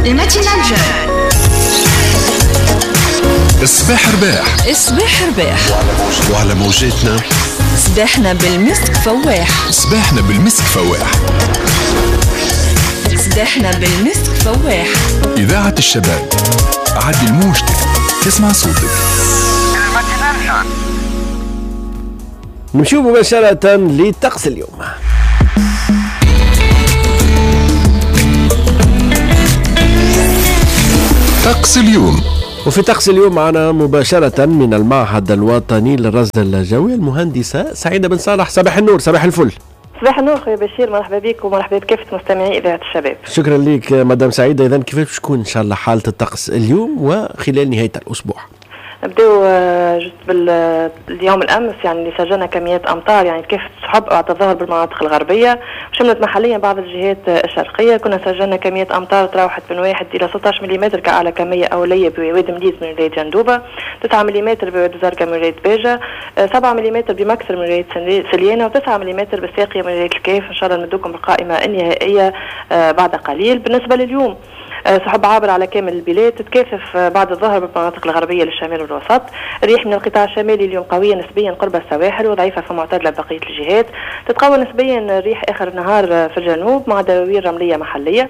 ال matinale jeune. الصباح رباح. الصباح رباح وعلى موجاتنا صباحنا بالمسك فواح. صباحنا بالمسك فواح. صباحنا بالمسك فواح. إذاعة الشباب، عدل موجتك تسمع صوتك. نمشيو مباشرة لطقس اليوم. طقس اليوم. وفي طقس اليوم معنا مباشرة من المعهد الوطني للرصد الجوي المهندسة سعيدة بن صالح. صباح النور، صباح الفل. صباح النور خويا بشير، مرحبا بك ومرحبا بكافة مستمعي إذاعة الشباب. شكرا لك مدام سعيدة. إذا كيفاش تكون إن شاء الله حالة الطقس اليوم وخلال نهاية الأسبوع؟ نبداو juste باليوم الامس، يعني اللي سجلنا كميات امطار يعني كافة السحب بعد الظهر بالمناطق الغربية وشملت محليا بعض الجهات الشرقية. كنا سجلنا كميات امطار تراوحت من 1 الى 16 ملم كاعلى كمية اوليه بوادي مليز من ولاية جندوبه، 9 ملم بوادي زرقاء من ولاية باجه، 7 ملم بمكسر من ولاية سليانه، و9 ملم بالساقيه من ولاية الكاف. ان شاء الله نمدوكم بالقائمه النهائية بعد قليل. بالنسبة لليوم، سحب عابر على كامل البلاد، تتكاثف بعد الظهر بالمناطق الغربية للشمال والوسط. الريح من القطاع الشمالي اليوم قوية نسبيا قرب السواحل وضعيفه في معتدلة بقية الجهات. تتقوى نسبيا الريح اخر النهار في الجنوب مع دواوير رمليه محليه.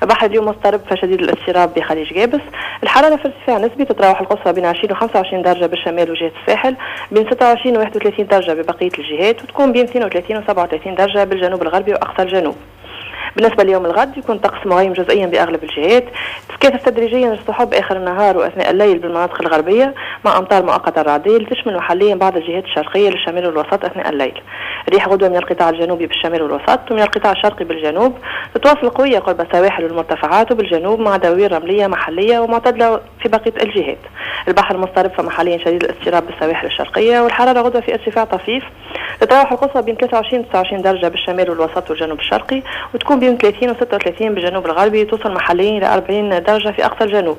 البحر اليوم مضطرب فشديد الاضطراب بخليج جابس. الحرارة في ارتفاع نسبي، تتراوح القصوى بين 20 و 25 درجه بالشمال وجهه الساحل، بين 26 و 31 درجه ببقية الجهات، وتكون بين 32 و 37 درجه بالجنوب الغربي واقصى الجنوب. بالنسبة ليوم الغد يكون طقس مغيم جزئيا بأغلب الجهات، تتكاثف تدريجيا السحب آخر النهار وأثناء الليل بالمناطق الغربية مع أمطار مؤقتة رعدية تشمل محليا بعض الجهات الشرقية للشمال والوسط أثناء الليل. ريح غدوة من القطاع الجنوبي بالشمال والوسط ومن القطاع الشرقي بالجنوب، تتواصل قوية قرب السواحل والمرتفعات وبالجنوب مع دواوير رملية محلية ومعتدلة في بقية الجهات. البحر مضطرب فمحليا شديد الاضطراب بالسواحل الشرقية، والحرارة غدوة في ارتفاع طفيف، تتراوح القصوى بين 23 و 29 درجة بالشمال والوسط والجنوب الشرقي، وتكون بين 30 و 36 بالجنوب الغربي، توصل محليا إلى 40 درجة في أقصى الجنوب.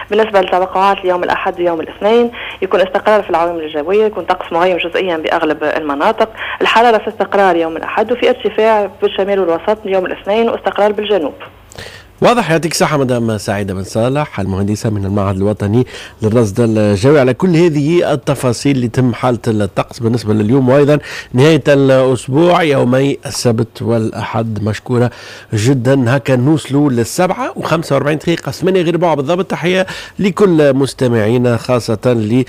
بالنسبة للتوقعات ليوم الأحد ويوم الاثنين، يكون استقرار في العوامل الجوية، يكون طقس مغيم جزئيا بأغلب المناطق. الحرارة في استقرار يوم الأحد وفي ارتفاع بالشمال والوسط يوم الاثنين واستقرار بالجنوب. واضح. يعطيك الصحة مدام سعيدة بن صالح المهندسة من المعهد الوطني للرصد الجوي على كل هذه التفاصيل اللي تم حالة الطقس بالنسبة لليوم وأيضا نهاية الأسبوع يومي السبت والأحد. مشكورة جدا. هكا نوصلوا 7:45، 7:45 بالضبط. تحية لكل مستمعينا، خاصة اللي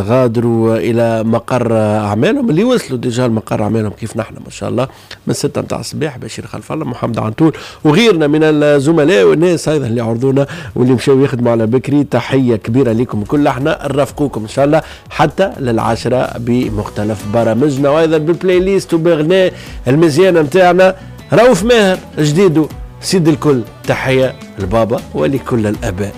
غادروا إلى مقر أعمالهم، اللي وصلوا déjà لمقر أعمالهم كيف نحن ما شاء الله من 6 متاع الصباح. بشير خلف الله، محمد عنتول وغيرنا من الزملاء والناس ايضا اللي عرضونا واللي مشاو يخدموا على بكري. تحية كبيرة لكم كل، احنا نرافقوكم ان شاء الله حتى 10:00 بمختلف برامجنا وايضا بال playlist وبغناء المزيانه نتاعنا رؤوف ماهر جديدو سيد الكل. تحية لبابا ولكل الاباء.